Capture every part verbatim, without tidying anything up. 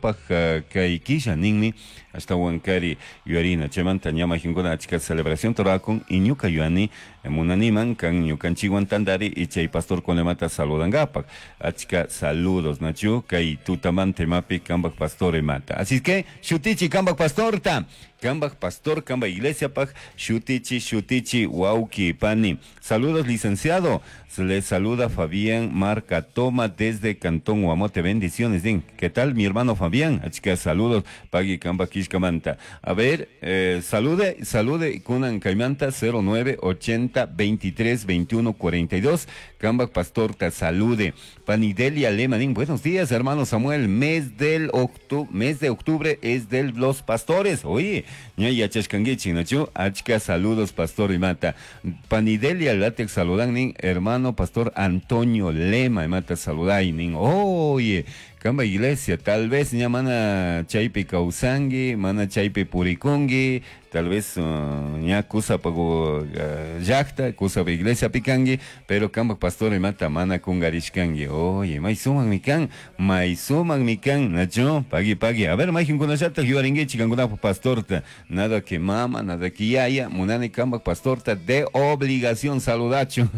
Ñaupaj kay killa ninmi ashtawankari yuyarina chaymanta ña mayqinkuna achka celebración rurakun y ñuka yuyani munaniman kan ñukanchikwan tantari y chay pastor kunemata saludangapak achka saludos nachu kay tutamanta imapi kanpak pastor imata. Así que shutichi kanpak pastorta, kanpak pastor, kanpak iglesiapaj shutichi, shutichi wauki pani. Saludos, licenciado. Se le saluda Fabián Marca Toma desde Cantón Guamote. Bendiciones. ¿Qué tal, mi hermano Fabián? Achka saludos. Pagui kanpak kishkamanta. A ver, eh, salude, salude kunan kaymanta cero nueve ochenta veintitrés veintiuno cuarenta y dos. Kanpak pastorta salude. Panidelia Lemanín. Buenos días, hermano Samuel. Mes del octu mes de octubre es de los pastores. Oye, ña yachashkanguichik, nachu? Achka saludos, pastor imata. Panidelia latex saludan nin, hermano pastor Antonio Lema imata saludai nin. Oye, kanpa iglesia, tal vez ña mana chaypi kawsanki, mana chaypi purikunki, tal vez uh, ña kusapak uh, llakta, kusapa iglesiapi kanki, pero kanpak pastor imata mana kungarishkanki. Oye, may sumakmi kan, may sumakmi kan, nachu? Pagui, pagui. A ver, mayqinkunallatak yuyarinkichik kankunapak pastorta. Nada que mama, nada que yaya, munani kanpak pastorta de obligación saludachun.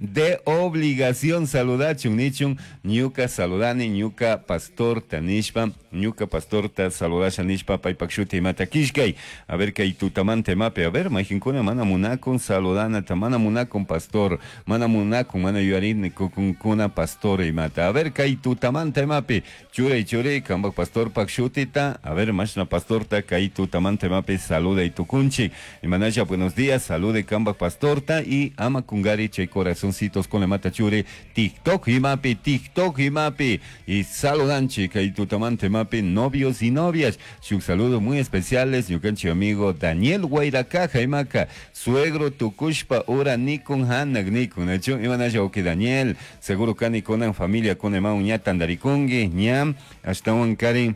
De obligación saludachun, nichun, ñuka saludani, ñuka pastorta nishpa, ñuka pastorta saludasha nishpa, paypak shuti imata kishkay. A ver, kay tutamanta imapi, a ver, mayqinkuna mana munakun saludanata, mana munakun pastor, mana munakun, mana yuyarini kukunkuna pastor imata. A ver, kay tutamanta imapi, churay, churay, kanpak pastorpak shutita, a ver, mashna pastorta kay tutamanta imapi saluday tukunchik. Imanasha, buenos días, salude kanpak pastorta y ama kungari chay corazoncitos con mata chure TikTok imapi, TikTok imapi y saludanchik kay tutamanta imapi novios y novias. Shuk saludos muy especiales, ñukanchik amigo Daniel Guairacaja imaka, suegro tukushpa ura nikun hanak nikun, nachu? Imanasha, okay Daniel, seguro kani kunan familia kuna imawan ña tantarikunki, ña ashtawan karin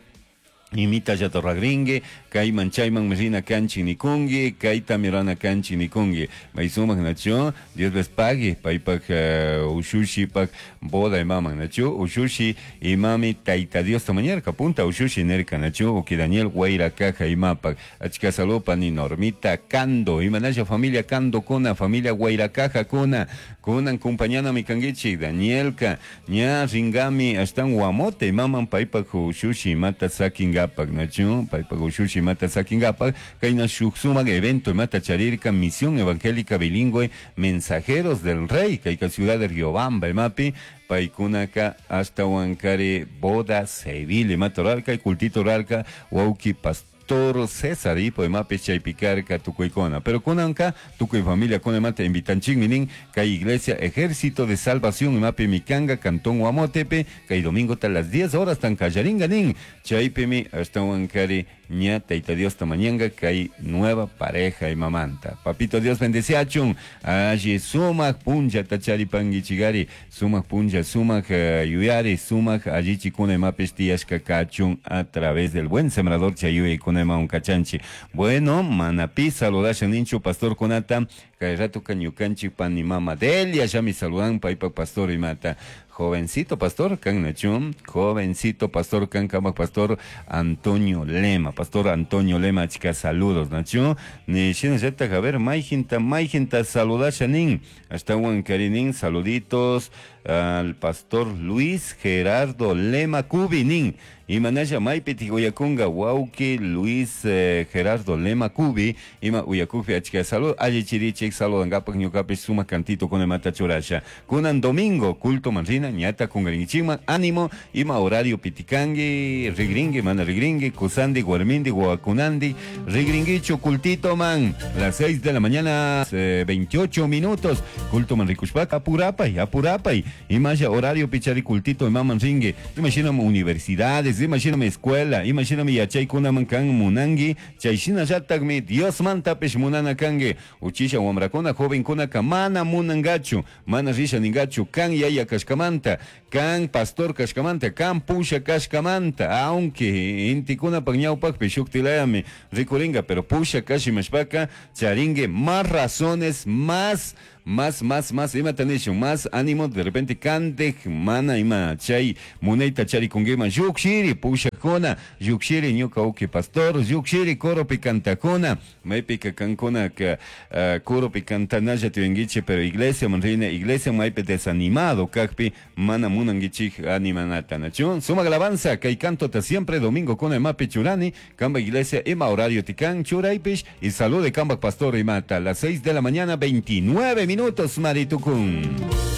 imita ragringue, kayman chayman rina kanchik nikunki, kaytami rana kanchik nikunki. May sumak nachu, Dios les pague, paypak uh, ushushipak boda imaman nachu, ushushi imami tayta Dios mañarka, punta ushushi nerka nachu, uki Daniel Guairacaja imapak, achka salupa ni Normita Kando, imanasha familia Kando kuna, familia Guairacaja kuna, kunan kumpañanami kankichik, Danielka, ña ringami, ashtan Guamote, imaman paypak ushushi imata sakingapak, nachu, paypak ushushi imata sakingapak, kayna shuk sumak evento imata charirka, Misión Evangélica Bilingüe, Mensajeros del Rey, kayka ciudad de Riobamba, imapi, paykunaka ashtawankari boda civil imata rurarka, cultito rurarka, wawki pastor César ipo imapi chaypikarka tukuykuna. Pero kunanka tukuy familia kuna imata invitanchikmi nin kay iglesia Ejército de Salvación imapi mikanga Cantón Guamotepe kay domingo a las diez horas tan kallaringa nin chaypimi ashtawankari ña tayta Dios mañanga kay nueva pareja imamanta. Papito Dios bendeciachun alli sumak punlla charipanguichigari, sumak punlla, sumak uh, yuyari, sumak allichikuna imapis tiyashka kachun a través del Buen Sembrador chayuy kuna ima kachanchi. Bueno, manapi saludasha ninchu pastor kunata, kay rato ñukanchik pani mama Delia llami saludan paypak pastor imata. Jovencito pastor kan nachum, jovencito pastor kan kamak pastor Antonio Lema, pastor Antonio Lema, chica saludos nachu. Ni shinallata, a ver, mayjinta, mayjinta saludasha nin, ashtawan karinin saluditos al pastor Luis Gerardo Lema Cubi nin. Imanasha maypi uyakunga wawki Luis eh, Gerardo Lema Cubi ima uyakukpi achka salud alli chirichik saludangapak ñukapish sumak cantito con mata churasha. Kunan domingo culto manrina ñata kungaringichikman ánimo. Ima horario pitikangi rigringi mana rigringi kusandi warmindi wawakunandi rigringichu cultito man las seis de la mañana eh, veintiocho minutos culto man rikushpaka apurapay, apurapay. Imasha horario pichari cultito imaman ringi imashinam universidades, imashinam escuela, imashinam yachaykunaman kan munangi chayshinallatagmi Diosmantapish munana kangi. Uchilla wamrakuna jovenkunaka mana munangachu, mana risha ningachu kan yaya kashkamanta, kan pastor kashkamanta, kan pusha kashkamanta, aunque intikunapak ñawpakpi shuktilayami rikuringa, pero pusha kashimashpaka charingue más razones, más más, más, más, imata nishun, más ánimo, de repente cante, mana ima, chay, munayta charikunkiman, llukshiri, pusha. cantajcuna, llujshiri ñuca uki pastor, llujshiri coropi cantajcuna, maypika kankunaka uh, coropi cantanalla yuyanguichik, pero iglesia rina, iglesia maypi desanimado kakpi mana munanguichik animanata, nachu? Sumak alabanza, kay cantota siempre domingo kuna imapi churani, kamba iglesia ima horario tikan churaypish y salude kamba pastor imata, las seis de la mañana veintinueve minutos maritukun.